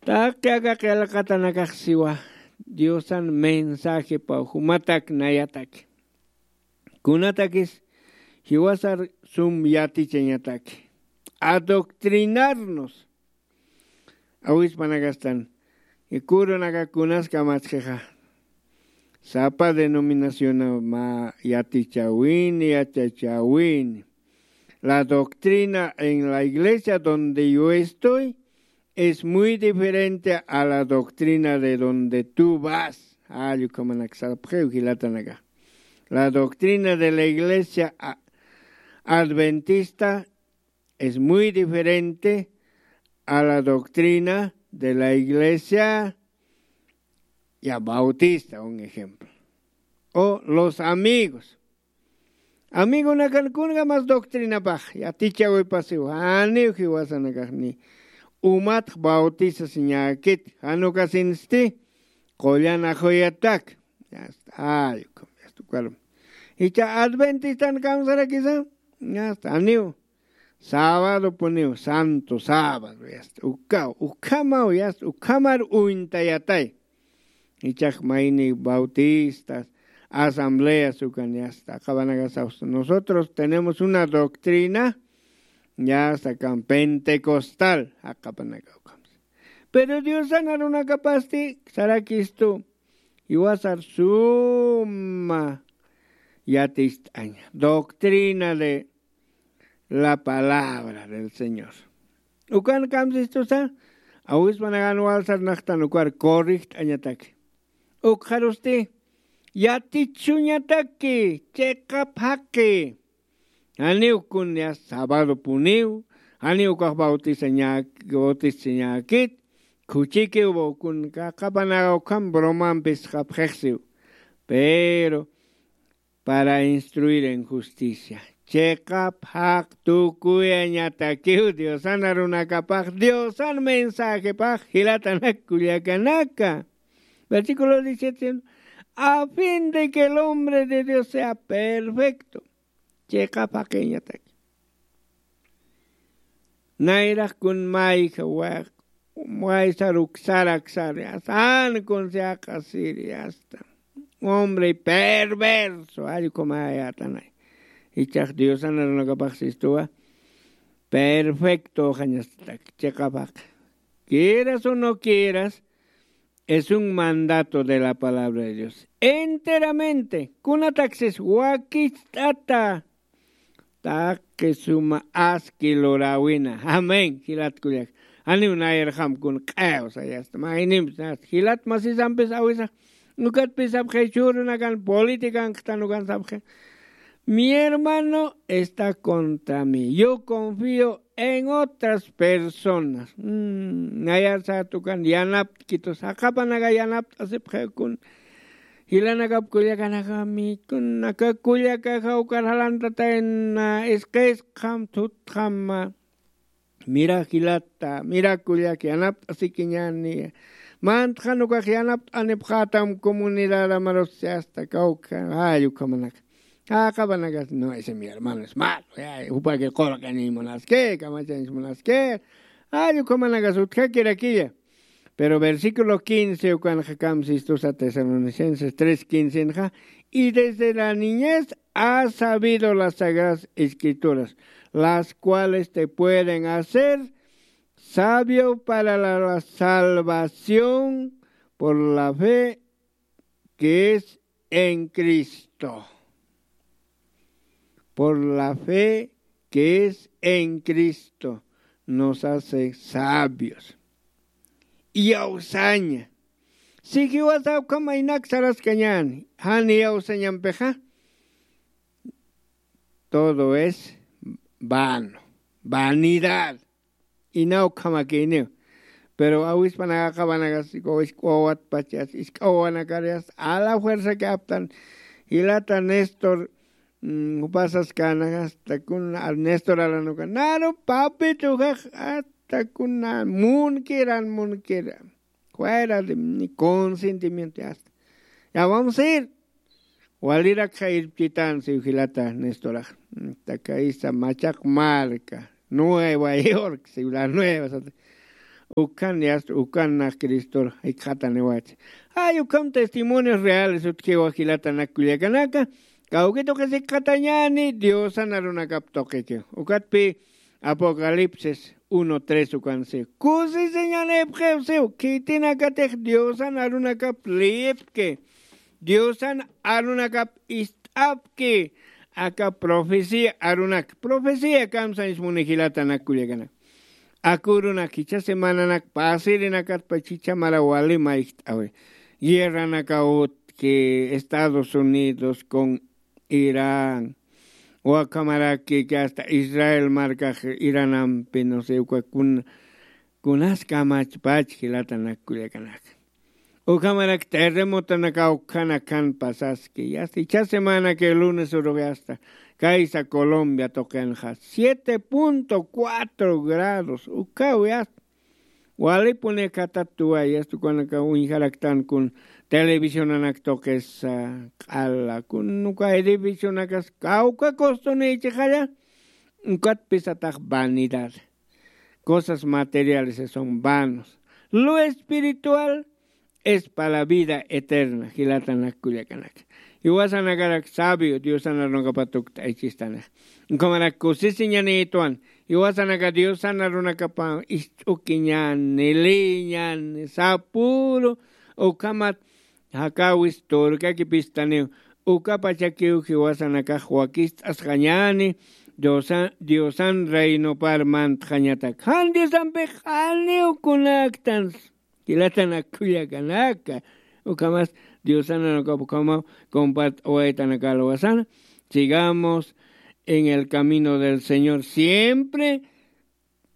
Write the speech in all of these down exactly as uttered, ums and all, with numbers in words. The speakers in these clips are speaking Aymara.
Taqi aka qillqatanakax siwa diosan mensajepaw jumatak nayatak, kunatakis jiwasar sum yatichañataki adoctrinarnos. Awispanakastan ikurunaka kunas kamatxixa sapa denominaciona mä yatichawini yachachawini. La doctrina en la iglesia donde yo estoy es muy diferente a la doctrina de donde tú vas. Allukamanak sarpxiw jilatanaka. La doctrina de la iglesia adventista es muy diferente a la doctrina de la iglesia ya bautista un ejemplo. O los amigos. Amigonakan kunga mas doctrinapax yatichawipasiw janiw jiwasanakaxni umatx bautisasiñakit janukasinsti. Qullan axuyatak. Yasta ayukum yasta ukarum. Icha adventistan kamsarakisa. Yasta aniw sabado puniw santo sabado yasta ukaw ukhamaw yasta ukhamar uñtayatay. Ichax mayni bautistas asambleas ukan yasta aqapanakasaws nosotros tenemos una doctrina yasta kan pentecostal aqapanaka ukamsa. Pero diosan arunakapasti sarakistu jiwasar suma yatist'aña doctrina de la palabra del señor. Ukan kamsistusa awispanakan walsar naqtan ukar corrijt'añataki. Ukxarusti yatichuñataki chiqap jaqi. Janiw kun ya sabado puniw janiw ukax bautisañäkit khuchikiw kun kaqapanaka ukham bromampis qapxixsiw. Pero para instruir en justicia chiqap jaq tukuyañatakiw diosan arunakapax diosan mensajepax jilatanak kullakanaka. Versículo diecisiete. A fin de que el hombre de dios sea perfecto. Chiqap jaqiñataki. Nayrax kun mayja waysar uksar aksar yasta an kun siaqasiri yasta. Hombre perverso allkumayätanay. Ichax diosan arunakapax sistuwa perfecto jañastatak chiqap jaqi. Quieras o no quieras, es un mandato de la palabra de dios enteramente. Kunataksis wakicht'ata taqi suma aski luräwina amén jilat kullak. Janiw nayarxam kun q'ew sayasta maynimpis jilat masisampis awisa. Ukatpis sapxi chhurunakan politikanktan ukan sapxi. Mi hermano está contra mí yo confío en otras personas. Nayar satukan yanapt'kitus jaqapanaka yanapt'asipxi kun. Jilanakap kullakanakami kunaka kullakaxa ukar jalantatayna isqisqam thutxama. Mira jilata mira kullak yanapt'asikiñani. Mantxan ukax yanapt'anipxätam comunidad amarusi asta kawkha jalla ukhamanak. Jaqapanakas no ese mi hermano es malo. Jupaki qulq'aniñ munaski kamachañs munaski. Jalla ukhamanakas utjakirakilla. Pero versículo quince ukanxa kamsistusa tesalonicenses tres quincenxa. Y desde la niñez ha sabido las sagradas escrituras, las cuales te pueden hacer sabio para la salvación por la fe que es en Cristo. Por la fe que es en Cristo nos hace sabios. Iyawsaña. Si jiwasa ukham aynak saraskañäni jan iyawsañampixa todo es vano, vanidad. Ina ukhamakïniw. Pero awispanaka qhawanakas isk'awawatpachas isk'awawanakar yasta a la fuerza que aptan. Jilata néstor jupasaskänakas takuna néstor alanuka naru papitujax. Takuna munkiran munkiran fuera de mi consentimiento yasta. Ya vamos a ir. Walirakxa irpchitan siw jilata nestorax. Takaysa machaq marka nueva york siw la nueva sata. Ukan yast ukan nax cristor jikxataniwachi. Ay ukham testimonios reales utjiwa jilatanak kullakanaka. Kawkituqis jikxatañani diosan arunakap tuqiki. Ukatpi apocalipsis uno tres ukansi kusisiñanipxiw siw khitinakatix diosan arunakap liyipki. Diosan arunakap ist'apki. Aka profecía arunak profecía kamsañs muni jilatanak kullakanak. Akurunak jichha semananak pasirinakat pachichamara wali mayjt'awi. Guerranaka utki estados unidos con irán wakamaraki que hasta israel markax iranampi no se uka kun kunas kamachpach jilatanak kullakanak. Ukhamarak terremotonakaw khanakan pasaski yasta ichha semana que lunes uruq yasta kaysa colombia tuqinxa siete punto cuatro grados ukaw yasta. Walipuni khatatuway yasta ukanaka uñjaraktan kun televisionanak tuqisa q'ala kun uka edificionakas kawka costunïchixalla. Ukatpisatax vanidad cosas materiales son vanos. Lo espiritual es para vida eterna jilatanak kullakanaka. Iwasanakarak sabio diosan arunakapat ukt'aychistanix. Ukhamarak kusisiñanïtwan iwasanaka diosan arunakapa ist'ukiñani lïñani sapuru ukhamat jakawis turkakipistaniw. Ukapachakiw jiwasanakax wakist'asqañani diosan reinopar mantxañatak jan diosampix q'aniw kunaktan. Jilatanak kullakanaka ukhamas diosananakap ukhamaw compart'awaytanaka alwasana. Sigamos en el camino del señor siempre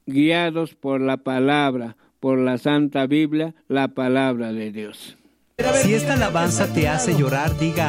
guiados por la palabra, por la santa biblia, la palabra de dios. Si esta alabanza te hace llorar diga.